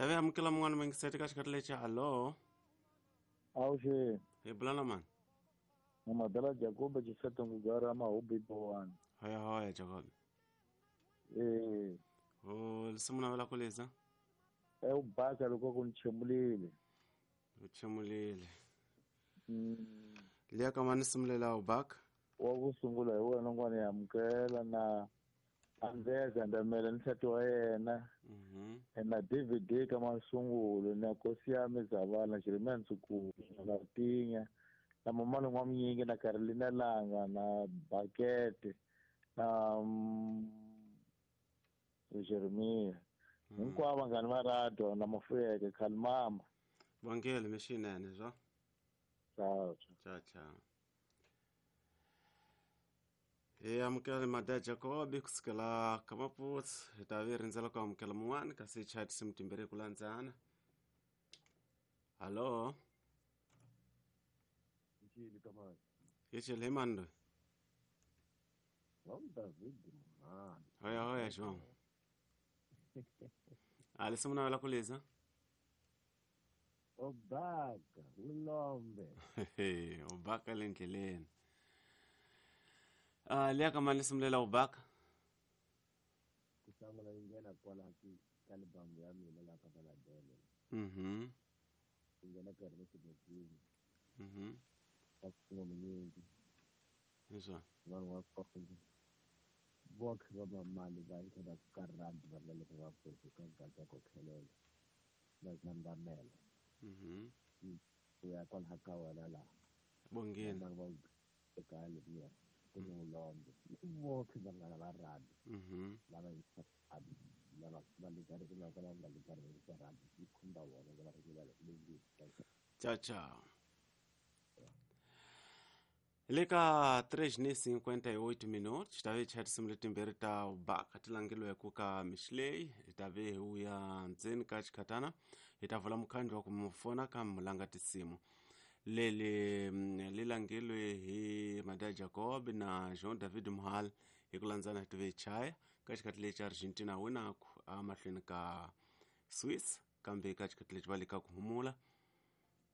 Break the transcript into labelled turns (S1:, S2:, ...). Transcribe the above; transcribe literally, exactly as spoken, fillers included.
S1: Tavi amukela mun'wana mingiseti ka xikhathi lexi. Hallo.
S2: Awuxeni.
S1: Hi bula na mani?
S2: Mamadala Jacob Chiseto Ngugara Mahubi Bowani.
S1: Hoya hoya Jacob.
S2: Eh.
S1: O lisimu navela ku liza?
S2: E u baka loko ku nchemulile.
S1: U chemulile.
S2: Mm.
S1: Liya ka mani simulela u baka?
S2: Wa ku sungula hi wena ngwana ya amukela na Andrea Gandamela ni nsati wa yena.
S1: Mhm.
S2: Na D V D ka masungulo na Nkosi ya Mizavana Jeremiah Ntsukulu na Latinya na Mamani N'wamnyingi na Carolina Langa na Bakete na Jeremiah. Hinkwavo vanghani va radio na Mafuyeke Khalimama.
S1: Vangele mixinene zwa.
S2: Ciao.
S1: Ciao ciao. Hi amukela Mada Jacob kusukela ka Maputsu hi ta vi rindzela ku amukela mun'wana kasi hi chaya tinsimu timbirhi ku landzana. Hallo.
S3: Ichili kamani.
S1: Ichili hi mani loyi?
S3: Wa David Muhani.
S1: Hoya hoya João. A lisimu navela ku liza?
S3: Obaka ulombe.
S1: Obaka le ndleleni. Ah, liya ka mani lisimu ubaka?
S3: Ku sungula yi nghena kwala ka libamu ya mina laha ka Maladele.
S1: Mhm.
S3: Yi nghena ka ri xibekini.
S1: Mhm.
S3: Ka minyingi.
S1: Leswa.
S3: Vanhu va kona. Boxe va mamani va yi ka ka rugby va nga le ka va ka gaza ko khelela. Na Gandamela.
S1: Mhm.
S3: Ku ya kwala ka wena laha.
S1: Bongeni.
S3: Vanhu va eka leriya. Ku ni ulombe. Boxe va nga va rugby.
S1: Mhm.
S3: Lava yi rugby. Lava va le ka ri na ka nga le ka ri ka rugby. Yi khumba vona va ri va le le.
S1: Ciao ciao. Le ka três e cinquenta e oito minutos, ta vi chaya tinsimu letimbirhi ta ubaka ti langeliwe ku ka Mixley, hi ta vi hi wuya ndzeni ka xikhatana, hi ta vula mukhandlu wa ku mu fona ka mulanga tinsimu. Leli li langeliwe hi Mada Jacob na Jean David Muhal hi ku landzana hi ti vi chaya ka xikhathi lexi Argentina winaku amahlweni ka Swiss kambe ka xikhathi lexi va le ka ku humula.